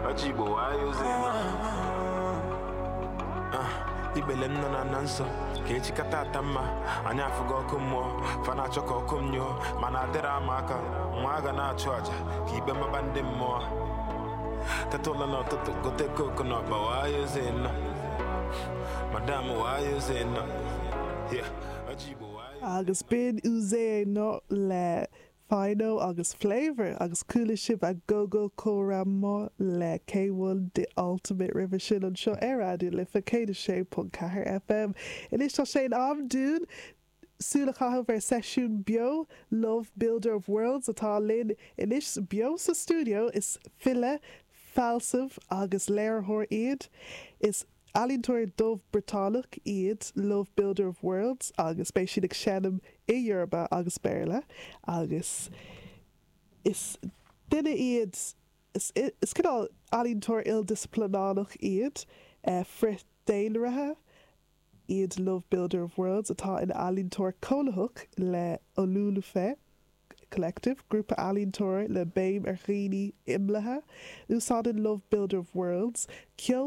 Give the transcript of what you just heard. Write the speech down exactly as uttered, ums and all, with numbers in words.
Ọjị Igbo wayo zenọ. Ibele m nọ na na nsọ ka echi kata ata mma anyị afụgo ọkụ mmụọ fa na-achọ ka ọkụ m nyụọ mana adịrị ama aka nwa a ga na-achụ àjà ka ikpe maba ndị mmụọ teta ụlọ n'ụtụtụ gote coke na ọkpa wayo zenọ madam wayo zenọ. Yeah, ọjị Igbo wayo. Agus b'in Uzee No le Phyno agus Flavour agus chuala sibh Agogo Kora Mo le K one The Ultimate roimhe sin anseo ar Raidió Life céad a sé ponc ceathair F M. Anois tá sé in am dúinn súil a chaitheamh ar seisiún beo. Love Builder of Worlds atá linn anois beo sa studio. Is file, fealsamh agus léiritheoir iad. Is ealaíontóir dubh Briotanach iad Love Builder of Worlds agus beidh siad ag seinm i Yoruba agus Béarla agus is duine iad is, is cineál ealaíontóir ildisciplínach iad uh, frith-daonraithe iad Love Builder of Worlds atá ina ealaíontóir cónaitheach le Olulufe Collective, grúpa ealaíontóir le béim ar dhaoine imeallaithe. Úsáideann Love Builder of Worlds ceol